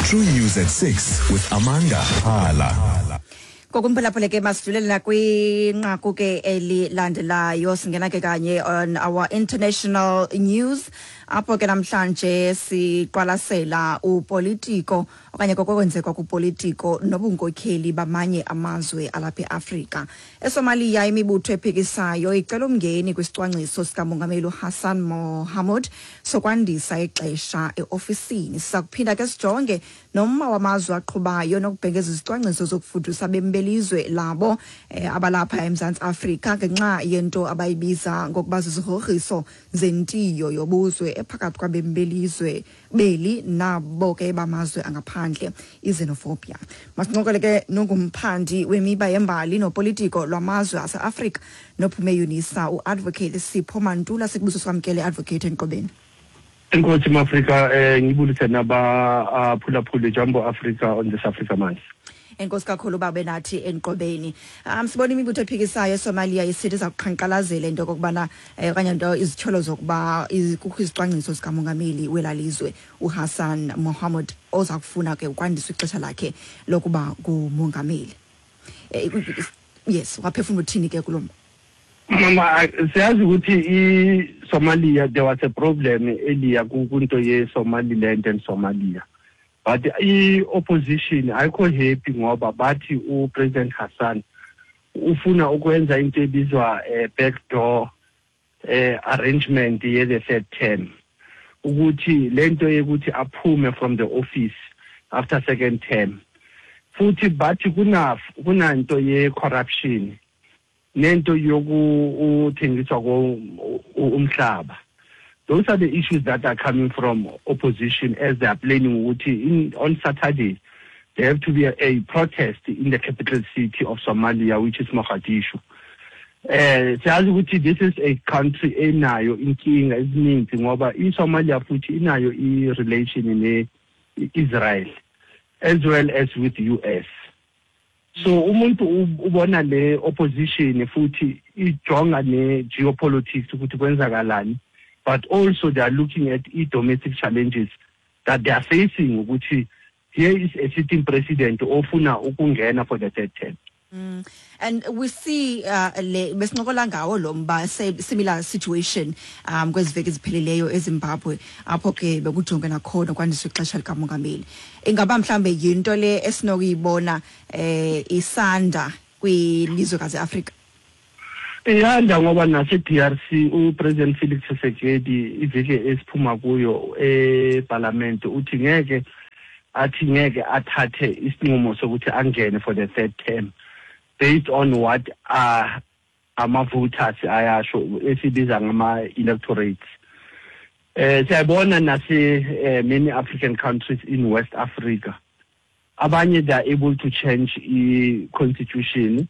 True News at 6 with Amanda Phala. Ngokumphulaphule ke masidlulela kwinqaku ke elilandelayo, singena ke kanye on our international news, apho ke namhlanje siqwalasela upolitiko okanye kokwenzeka kupolitiko nobunkokheli bamanye amazwe alapha eAfrika. ESomalia, imibutho ephikisayo icela umngeni kwisicwangciso sikamongameli uHassan Mohamud sokwandisa ixesha eofisini. Siza kuphinda ke sijonge nomma wamazwe aqhubayo nokubhengeza izicwangciso zokufudusa abemi belizwe labo abalapha eMzantsi Afrika ngenxa yento abayibiza ngokuba zizigrogriso zentiyo yobuzwe ephakathi kwabemi belizwe beli nabo ke bamazwe angaphandle, i-xenophobia. Masincokole ke nongumphandi wemiba yembali nopolitiko lwamazwe aseAfrika nophume UNISA, uAdvocate Sipho Mantula. Sikubuso sikwamkele, Advocate, enkqubeni. Enkosi, Mafrika. Ngibulise nabaphulaphuli. Jambo Africa on this Africa Month. Enkosi kakhulu babe nathi enkqubeni. Sibona imibutho ephikisayo eSomalia isithi iza kuqhankqalazela into okokubana okanye nto izityholo zokuba kukho izicwangciso zikamongameli welaa lizwe uHassan Mohamud oza kufuna ke ukwandiswa ixesha lakhe lokuba ngumongameli. Yes, waphefumla uthini ke kulo mba? Mama, siyazi ukuthi i-Somalia, there was a problem earlier kunto ye-Somaliland and Somalia, but i-opposition ayikho happy ngoba bathi uPresident Hassan ufuna ukwenza into ebizwa backdoor arrangement ye the third term, ukuthi lento yokuthi aphume from the office after second term. Futhi bathi kunanto ye corruption nento yokuthengiswa umhlaba. Those are the issues that are coming from opposition as they are planning ukuthi on Saturday there have to be a protest in the capital city of Somalia, which is Mogadishu. Siyazi ukuthi this is a country enayo inkinga ezininzi ngoba iSomalia futhi inayo i-relation ne-Israel as well as with US. So umuntu ubona le opposition futhi ijonga ne-geopolitics ukuthi kwenzakalani, but also they are looking at i-domestic challenges that they are facing, ukuthi here is a sitting president ofuna ukungena for the third term. And we see le besincokola ngawo lo mba, similar situation kwezi veki ziphelileyo eZimbabwe, apho ke bekujonge nakhona kwandiswa ixesha likamongameli. Ingaba mhlambe yinto le esinokuyibona isanda kwilizwekazi Afrika? Iyanda ngoba nase-DRC uPresident Felix Tshisekedi iviki esiphuma kuyo eParliament uthi ngeke, athi ngeke athathe isinqumo sokuthi angene for the third term based on what ama-voters ayasho, esibiza ngama-electorates. Siyabona nase many African countries in West Africa, abanye they are able to change i-constitution,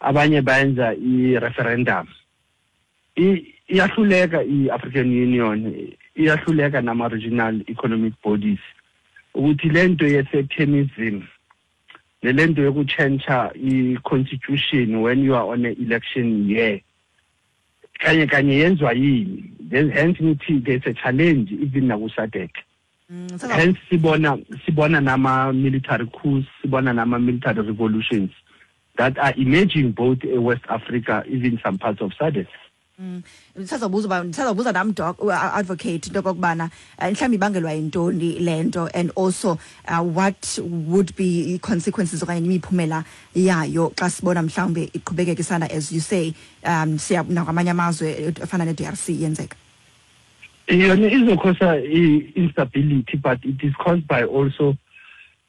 abanye bayenza i-referendum. Iyahluleka i-African Union, iyahluleka nama-regional economic bodies ukuthi lento ye-sectarianism nelento yokutshentsha i-constitution when you are on an election year kanye kanye yenziwa yini. Hence ngithi there's a challenge even naku-SADC. Hence sibona nama-military coups, sibona nama-military revolutions that are emerging both in West Africa, even some parts of SADC. Ndisazobuza uba, ndisazobuza nam, doc, advocate, into okokubana mhlawumbi ibangelwa yintoni le nto and also what would be i-consequences okanye imiphumela yayo xa sibona mhlawumbi iqhubekeka isanda, as you say, siya nakwamanye amazwe afana ne-DRC yenzeka. Yona izo-cause-a i-instability, but it is caused by also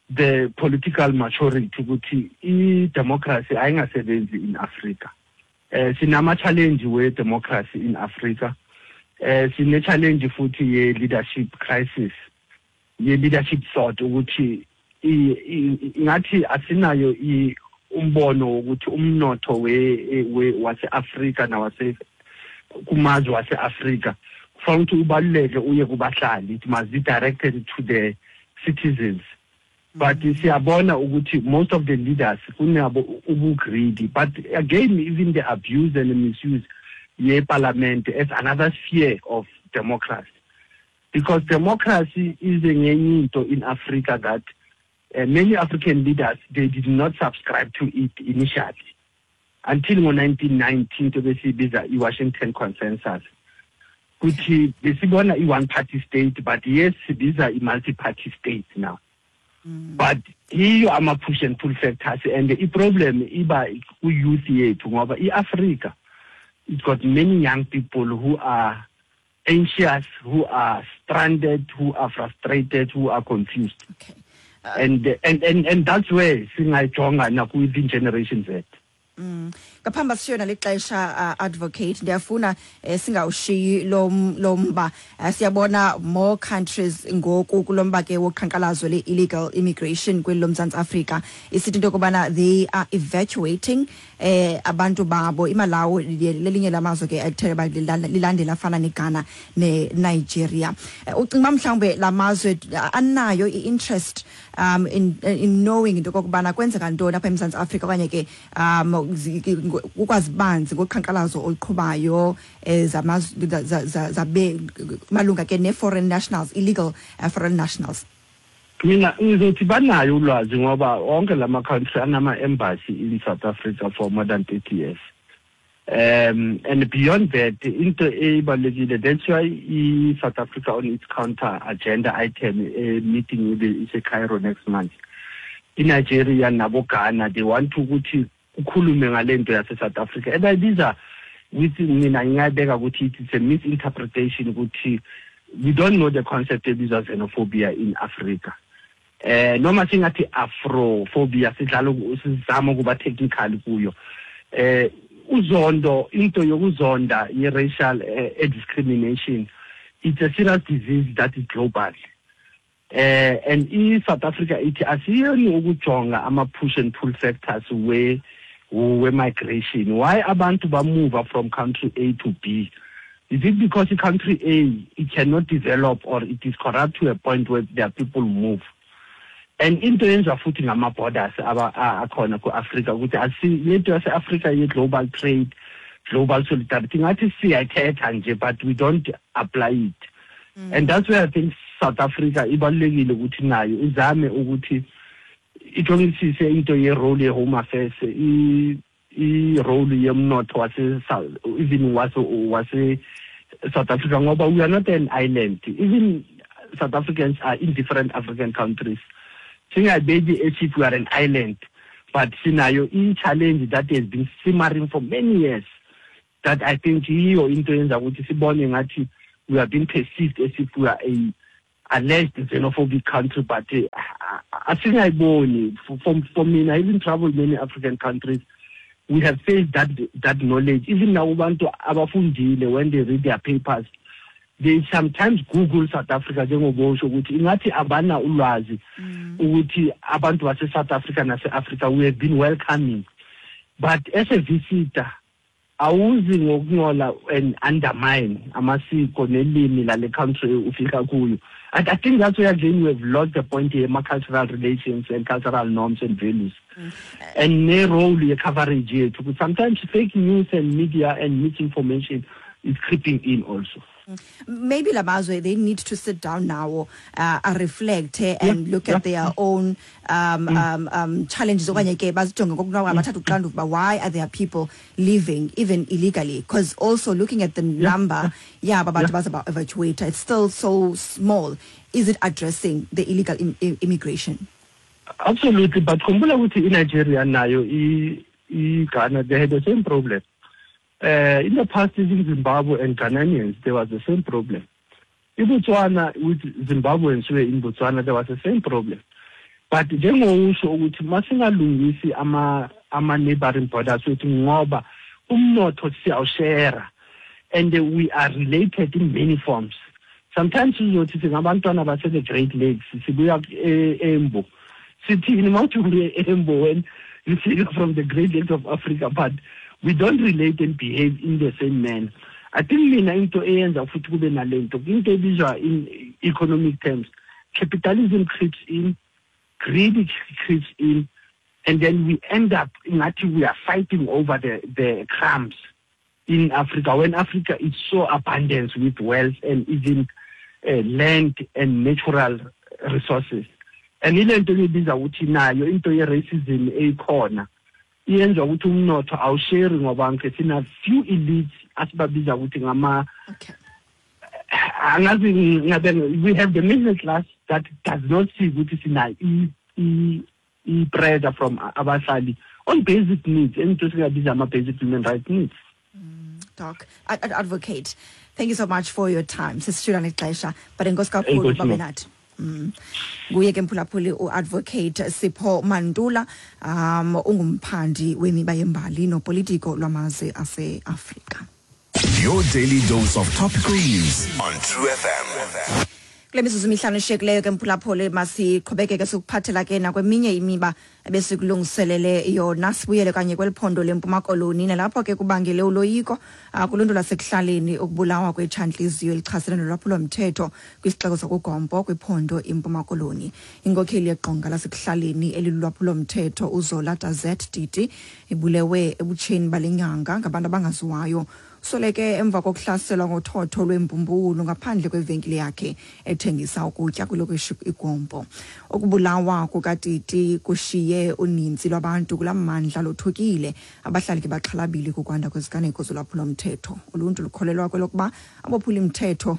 the political maturity ukuthi i-democracy ayingasebenzi in Africa. Sinama challenge we-democracy in Africa. Sine challenge futhi ye-leadership crisis, ye-leadership thought, ukuthi ngathi asinayo umbono wokuthi umnotho we wase-Afrika nawase kumazwe wase-Afrika kufanele ukuthi ubaluleke uye kubahlali. It must be directed to the citizens, but siyabona ukuthi most of the leaders kunabo ubu-greedy. But again, even the abuse and the misuse ye-parliament as another sphere of democracy, because democracy is ngenye into in Africa that Many African leaders, they did not subscribe to it initially until ngo-1990 into besiyibiza i-Washington Consensus, kuthi besibona i-one party state, but yes, sibiza i-multi-party state now. But yiyo ama-push and pull factors, and i-problem iba ku-youth yethu, ngoba i-Africa, it's got many young people who are anxious, who are stranded, who are frustrated, who are confused. And that's where singayijonga naku-within Generation Z. Ngaphambi sishiyona lixesha, advocate, ndiyafuna singawushiyi lo mba. Siyabona more countries ngoku kulo mba ke woqhankqalazo le-illegal immigration kweli loMzantsi Afrika, isithi into yokubana they are evacuating abantu babo. IMalawi lelinye lamazwe ke ethe uba lilandela, afana neGhana neNigeria. Ucinga uba mhlawumbe la mazwe anayo i-interest in knowing into okokubana kwenzeka ntoni apha eMzantsi Afrika, okanye ke ukwazi banzi ngoqhankqalazo oluqhubayo zabe malunga ke ne-foreign nationals, illegal foreign nationals? Mina ngizothi banayo ulwazi, ngoba wonke lama country anama-embassy in South Africa for more than 30 years. And beyond that, into ebalulekile, that's why i-South Africa on its counter agenda item, a meeting with ise-Cairo next month, iNigeria nabo Ghana, they want ukuthi kukhulume ngalento yase-South Africa ebayibiza with, mina ngingayibeka ukuthi it's a misinterpretation ukuthi we don't know the concept ebizwa xenophobia in Africa, noma singathi afrophobia, sidlala sizama ukuba technical kuyo. Uzondo, into yokuzonda ye-racial discrimination, it's a serious disease that is global, and i-South Africa ithi asiyeni ukujonga ama-push and pull factors we migration. Why abantu ba-move from country A to B? Is it because country A, it cannot develop, or it is corrupt to a point where their people move? And into yenziwa futhi ngama-borders akhona ku-Afrika, ukuthi asi lento yase-Afrika ye-global trade, global solidarity, ngathi siyayithetha nje, but we don't apply it. And that's where I think South Africa ibalulekile ukuthi nayo izame ukuthi ijongisise into ye-role ye-home affairs, i-role yemnotho wase even wase South Africa, ngoba we are not an island. Even South Africans are in different African countries. Singayibeki as if we are an island, but sinayo i-challenge that has been simmering for many years, that I think yiyo into yenza ukuthi sibone ngathi we are being perceived as if we are a alleged xenophobic country, but asingayiboni. For mina, even travel many African countries, we have faced that knowledge. Even now abantu abafundile, when they read their papers, they sometimes google South Africa, njengobosho ukuthi ingathi abana ulwazi ukuthi abantu base South Africa nase Africa, we have been welcoming. But as a visitor, awuzi ngokuncola and undermine amasiko nelimi lale country ufika kuyo. And I think that's where again we have lost the point here, cultural relations and cultural norms and values. And ne-role ye-coverage yethu. Sometimes fake news and media and misinformation is creeping in also. Maybe lamazwe, they need to sit down now, reflect and look at their own challenges, okanye ke bazijonge ngokunoko, bathathe uxanduva uba why are there people leaving even illegally? Because also looking at the number yaba bantu baza evacuate, it's still so small. Is it addressing the illegal immigration? Absolutely, but khumbula ukuthi iNigeria nayo iGhana, they had the same problem. In the past, in Zimbabwe and Ghanaians, there was the same problem. In Botswana, with Zimbabweans who were in Botswana, there was the same problem. But njengowusho ukuthi masingalungisi ama neighboring borders wethu, ngoba umnotho siyawushare and we are related in many forms. Sometimes uzothi singabantwana base the Great Lakes, sibuya eMbo. Sithini mawuthi uye eMbo when you see from the Great Lakes of Africa? But we don't relate and behave in the same manner. I think mina into eyenza futhi kube nalento, into ebizwa in economic terms, capitalism creeps in, greed creeps in, and then we end up ngathi we are fighting over the crumbs in Africa, when Africa is so abundant with wealth and even land and natural resources. And ile nto ebiza ukuthi nayo into ye-racism eyikhona iyenza ukuthi umnotho awusheri, ngoba ngike sina few elites asibabiza ukuthi ngama angazi ngabe we have the middle class that does not see ukuthi sina i-pressure from abahlali on basic needs, into singabiza ama-basic human rights needs. Doc, Advocate, thank you so much for your time. Sisishula nexesha, but enkosi kakhulu babe nathi. Nguye ke, mphulaphuli, uAdvocate Sipho Mantula, ungumphandi wemiba yembali nopolitiko lwamazwe aseAfrika. Your daily dose of topical news on True FM. Kule mizuzu mihlanu eshiyekileyo ke, mphulaphuli, masiqhubekeke sikuphathela ke nakweminye imiba ebesikulungiselele yona. Sibuyele kanye kweli phondo leMpuma Koloni, nalapho ke kubangele uloyiko kuluntu lwasekuhlaleni ukubulawa kwetshantliziyo elichasene nolwaphulomthetho kwisixeko sakuGompo kwiphondo iMpuma Koloni. Inkokheli yeqonga lasekuhlaleni elilulwaphulomthetho uZola Dazet Titi ibulewe ebutsheni bale nyanga ngabantu abangaziwayo. Usweleke emva kokuhlaselwa ngothotho lwembumbulu ngaphandle kwevenkile yakhe ethengisa ukutya kwilokishi iGompo. Ukubulawa kukaTiti kushiye uninzi lwabantu kulaa mmandla lothukile. Abahlali ke baxhalabile kukwanda kweziganeko zolwaphulomthetho. Uluntu lukholelwa kwelokuba abophulimthetho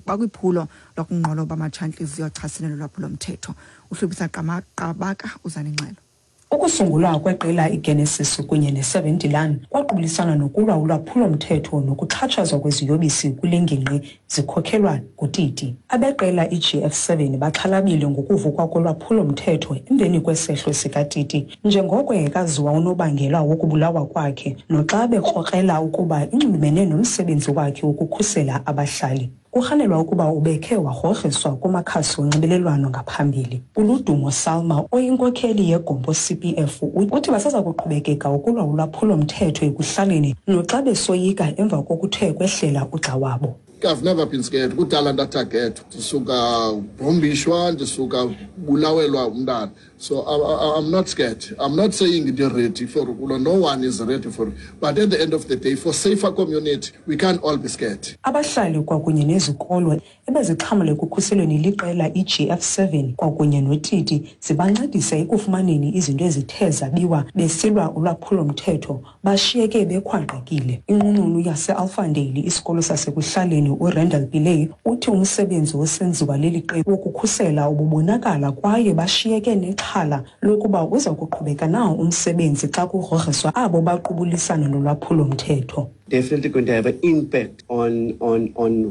bakwiphulo lokunqoloba amatshantliziyo achasene nolwaphulomthetho. Uhlubisa Qabaka uzanengxelo. Ukusungulwa kweqela iGenesis kunye ne-7 de Laan kwaqubulisana nokulwa ulwaphulomthetho nokuxhatshazwa kweziyobisi kule ngingqi zikhokhelwa nguTiti. Abeqela iGF7 baxhalabile ngokuvukwa kolwaphulomthetho emveni kwesehlo sikaTiti, njengoko engekaziwa unobangela wokubulawa kwakhe, noxa bekrokrela ukuba inxulumene nomsebenzi wakhe wokukhusela abahlali. Kurhanelwa ukuba ubekhe wagrogriswa kumakhasi onxibelelwano ngaphambili. ULudumo Salma, oyinkokheli yeGompo CPF, uthi basaza kuqhubekeka ukulwa ulwaphulomthetho ekuhlaleni noxa besoyika emva kokuthe kwehlela ugxa wabo. I've never been scared. Kudala ndatargetwa. Ndisuka bombishwa, ndisuka bulawelwa umntana. So I'm not scared. I'm not saying they're ready for ukulwa. No one is ready for it. But at the end of the day, for safer community, we can't all be scared. Abahlali kwakunye nezikolo ebezixhamle ekukhuselweni liqela iGF7 kwakunye noTiti zibancedisa ekufumaneni izinto ezithe zabiwa besilwa ulwaphulomthetho bashiyeke bekhwangqekile. Inqununu yaseAlfandale, isikolo sasekuhlaleni, uRandall Pillay, uthi umsebenzi osenziwa leli qela wokukhusela ububonakala kwaye bashiyeke nexhala lokuba uza kuqhubeka na umsebenzi xa kugrogriswa abo baqubulisana nolwaphulomthetho. Definitely going to have an impact on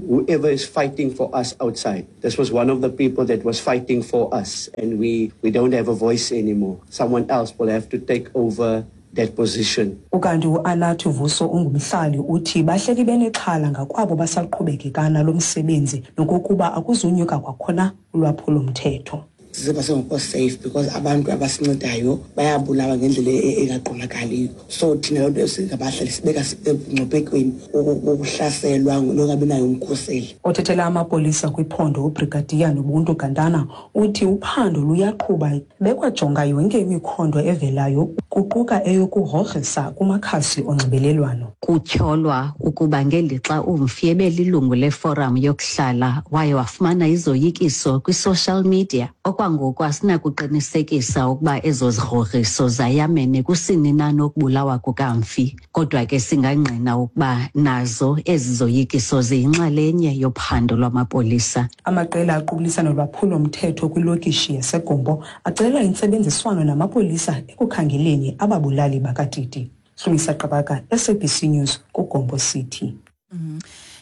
whoever is fighting for us outside. This was one of the people that was fighting for us, and we don't have a voice anymore. Someone else will have to take over that position. Ukanti uAnathi Vuso ungumhlali uthi bahleli benexhala ngakwabo basaqhubekeka nalo msebenzi nokokuba akuzunyuka kwakhona ulwaphulomthetho. Siziva singekho safe because abantu abasincedayo bayabulawa ngendlela engaqondakaliyo, so thina loo nto singabahlali sibeka emngciphekweni wokuhlaselwa nongabi nayo umkhuseli. Othethela amapolisa kwiphondo uBrigadiya Nobuntu Gantana uthi uphando luyaqhuba bekwajonga yonke imikhondo evelayo, kuquka eyokugrogrisa kumakhasi onxibelelwano. Kutyholwa ukuba ngelixa umfi ebelilungu leforum yokuhlala waye wafumana izoyikiso kwi-social media. Okwangoku asinakuqinisekisa ukuba ezo zigrogriso zayamene kusini na nokubulawa kukamfi, kodwa ke singangqina ukuba nazo ezi zoyikiso ziyinxalenye yophando lwamapolisa. Amaqela aqubulisana nolwaphulomthetho kwilokishi yaseGompo acela intsebenziswano namapolisa ekukhangeleni ababulali bakaTiti. Hlumisa Qabaka, SABC News, kuGompo City.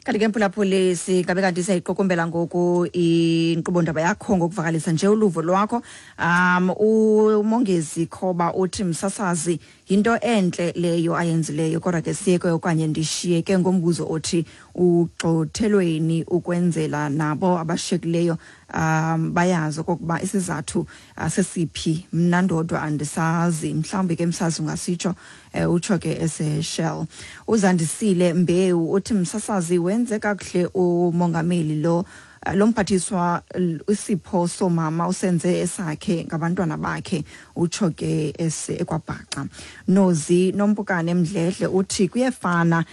Kanti ke, mphulaphuli, singabe kanti siyayiqukumbela ngoku inkqubo-ndaba yakho ngokuvakalisa nje uluvo lwakho. UMongezi Khoba uthi, "Msasazi, yinto entle leyo ayenzileyo, kodwa ke siyeke okanye ndishiyeke ngombuzo othi ugxothelweni ukwenzela nabo abashiyekileyo bayazi okokuba isizathu sesiphi. Mna ndodwa andisazi, mhlawumbi ke msazi ungasitsho." Utsho ke eseShell. Uzandisile Mbewu uthi, "Msasazi, wenze kakuhle umongameli lo mphathiswa isipho somama usenze esakhe ngabantwana bakhe." Utsho ke ese eKwaBhaca. Nozi Nompukane Mdledle uthi, "Kuyefana,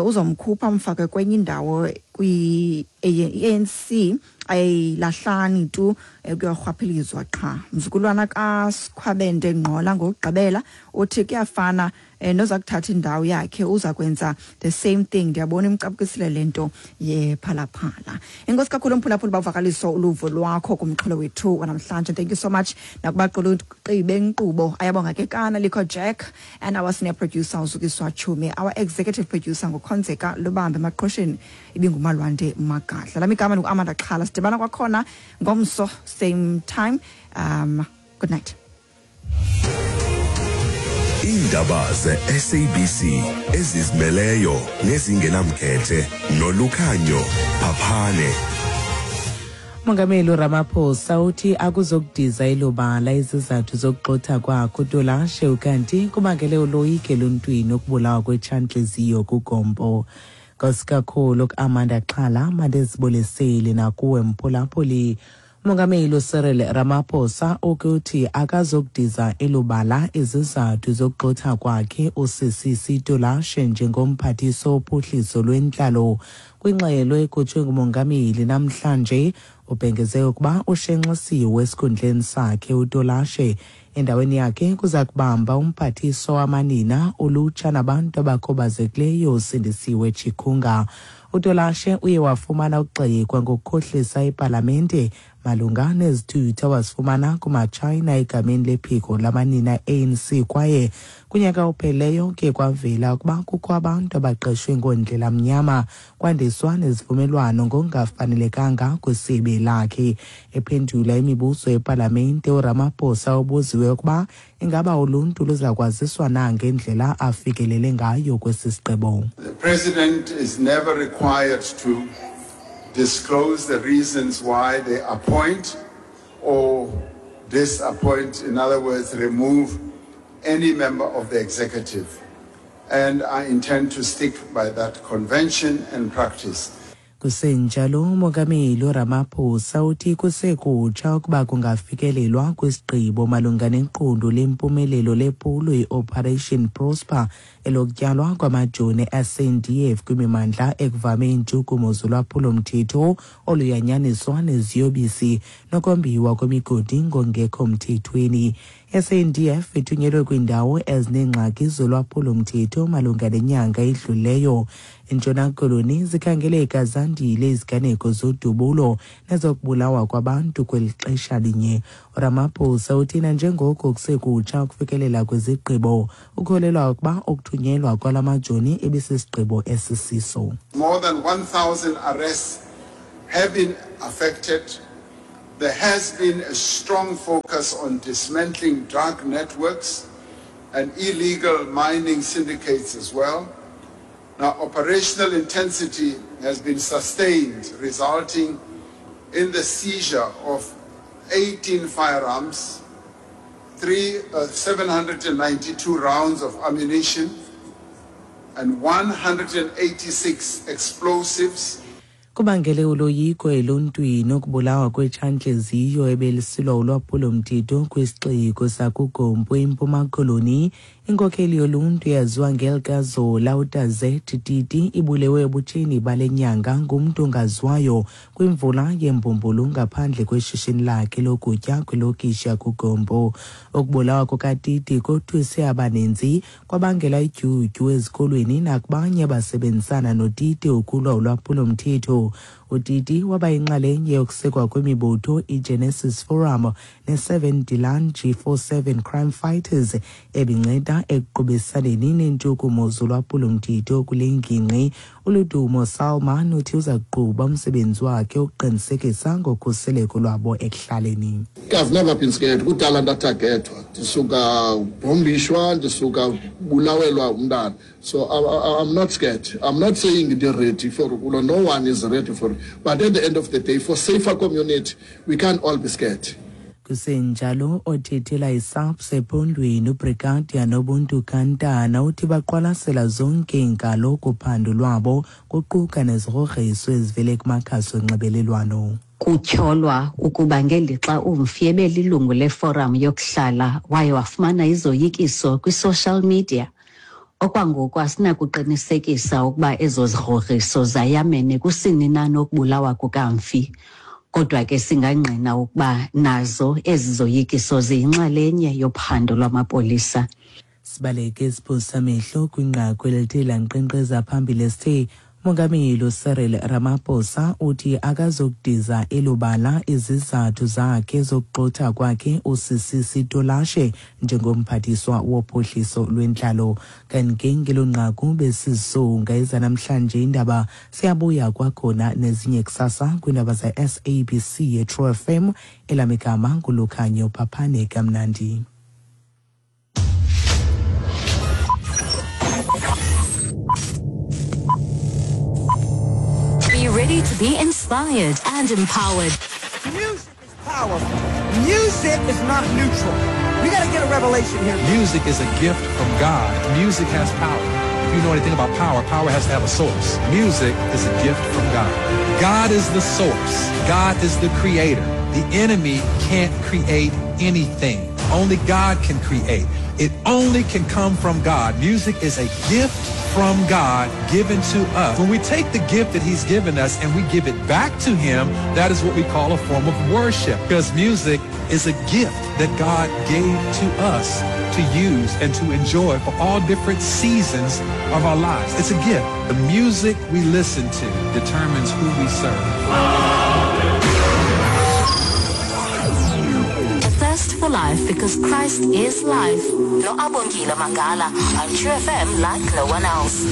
uzomkhupha mfake kwenye indawo." Kwi-ANC ayilahlani tu, kuyorhwaphilizwa qha. Mzukulwana kaSkhwabende Ngqola ngokugqibela uthi kuyafana noza kuthatha indawo yakhe, uza kwenza the same thing. Ndiyabona imcaphukisile le nto yephalaphala. Enkosi kakhulu, mphulaphuli, bavakaliso uluvo lwakho kumxholo wethu wanamhlanje. Thank you so much nakubaquluqi benkqubo, Ayabonga Kekana, Likho Jack, and our senior producer uZukiswa Chumi. Our executive producer nguKhonzeka Lubambe, emaqhosheni ibinguMalwande Magadla. Lami igama ndinguAmanda Xhala. Sidibana kwakhona ngomso, same time. Good night. Iindaba ze-SABC ezizimeleyo nezingenamkhethe noLukhanyo Phaphane. Umongameli uRamaphosa uthi akuzokudiza elobala izizathu zokugxotha kwakhe uTolashe, ukanti kubangele uloyiko eluntwini ukubulawa kwetshantliziyo kuGompo. Nkosi kakhulu kuAmanda Xhala, mandizibulisele nakuwe mphulaphuli. Umongameli uCyril Ramaphosa ukuthi akazokudiza elubala izizathu zokugxotha kwakhe uSisisi Tolashe njengomphathiswa wophuhliso lwentlalo. Kwingxelo ekhutshwe ngumongameli namhlanje, ubhengeze ukuba ushenxisiwe esikhundleni sakhe uTolashe. Endaweni yakhe kuza kubamba umphathiswa wamanina, ulutsha nabantu abakhubazekileyo uSindisiwe Chikunga. UTolashe uye wafumana ukugxekwa ngokukhohlisa ipalamente malunga nezithuthi awazifumana kumaTshayina egameni lephiko lamanina ANC, kwaye kunyaka opheleyo ke kwavela ukuba kukho abantu abaqeshwe ngoondlela mnyama, kwandiswa nezivumelwano ngokungafanelekanga kwisebe lakhe. Ephendula imibuzo epalamente, uRamaphosa ubuziwe ukuba ingaba uluntu luza kwaziswa na ngendlela afikelele ngayo kwesi sigqibo. The president is never required to disclose the reasons why they appoint or disappoint, in other words, remove any member of the executive. And I intend to stick by that convention and practice. Kusenjalo, umongameli uRamaphosa uthi kusekutsha ukuba kungafikelelwa kwisigqibo malunga neqondo lempumelelo lephulo i-Operation Prosper, elokutyalwa kwamajoni SANDF kwimimandla ekuvame iintshukumo zolwaphulomthetho oluyanyaniswa neziyobisi nokombiwa kwemigodi ngongekho mthethweni. SANDF ithunyelwe kwiindawo ezineengxaki zolwaphulomthetho malunga nenyanga edlulileyo. ENtshona Koloni zikhangeleka zandile iziganeko zodubulo nezokubulawa kwabantu kweli xesha linye. URamaphosa uthi nanjengoko kusekutsha ukufikelela kwizigqibo, ukholelwa ukuba ukuthunyelwa kwala majoni ibisisigqibo esisiso. More than 1,000 arrests have been affected. There has been a strong focus on dismantling drug networks and illegal mining syndicates as well. Now, operational intensity has been sustained, resulting in the seizure of 18 firearms, 792 rounds of ammunition, and 186 explosives. Kubangele uloyiko eluntwini ukubulawa kwetshantliziyo ebelisilwa ulwaphulomthetho kwisixeko sakuGompo eMpuma Koloni. Inkokheli yoluntu yaziwa ngelikaZola uTazet Titi ibulewe ebutsheni bale nyanga ngumntu ongaziwayo kwimvula yembumbulu ngaphandle kweshishini lakhe lokutya kwilokishi yakuGompo. Ukubulawa kukaTiti kothuse abaninzi, kwabangela idyudyu ezikolweni nakubanye abasebenzisana noTiti ukulwa ulwaphulomthetho. UTiti waba yinxalenye yokusekwa kwemibutho iGenesis Forum ne-7 De Laan G47 Crime Fighters ebinceda ekuqubisaneni neentshukumo zolwaphulomthetho kule ngingqi. ULudumo Salman uthi uza kuqhuba umsebenzi wakhe ukuqinisekisa ngokhuseleko lwabo ekuhlaleni. I've never been scared. Kudala ndathagethwa, ndisuka bhombishwa, ndisuka bulawelwa umntana, so I'm not scared. I'm not saying ndi-ready for ukulwa. No one is ready for it, but at the end of the day, for safer community, we can't all be scared. Kusenjalo, othethela iSAPS ephondweni uBrigadier Nobuntu Kantana uthi baqwalasela zonke iinkalo kuphando lwabo, kuquka nezigrogriso ezivele kumakhasi onxibelelwano. Kutyholwa ukuba ngelixa umfi ebelilungu leforum yokuhlala waye wafumana izoyikiso kwi-social media. Okwangoku asinakuqinisekisa ukuba ezo zigrogriso zayamene kusini na nokubulawa kukamfi. Kodwa ke singangqina ukuba nazo ezi zoyikiso ziyinxalenye yophando lwamapolisa. Sibaleke isiphosa amehlo kwinqaku elithe lankqenkqeza phambili esithe Umongameli uCyril Ramaphosa uthi akazokudiza elubala izizathu zakhe zokugxotha kwakhe uSisisi Tolashe njengomphathiswa wophuhliso lwentlalo. Kanti ke ngelo nqaku besizisonga ezanamhlanje indaba siyabuya kwakhona nezinye kusasa kwiindaba ze-SABC yeTrue FM. Elam igama nguLukhanyo Phaphane kamnandi. Be ready to be inspired and empowered. Music is powerful. Music is not neutral. We got to get a revelation here. Music is a gift from God. Music has power. If you know anything about power, power has to have a source. Music is a gift from God. God is the source. God is the creator. The enemy can't create anything. Only God can create. It only can come from God. Music is a gift from God given to us. When we take the gift that he's given us and we give it back to him, that is what we call a form of worship, because music is a gift that God gave to us to use and to enjoy for all different seasons of our lives. It's a gift. The music we listen to determines who we serve. A thirst for life because Christ is life. No Abongile Mangala on True FM like no one else.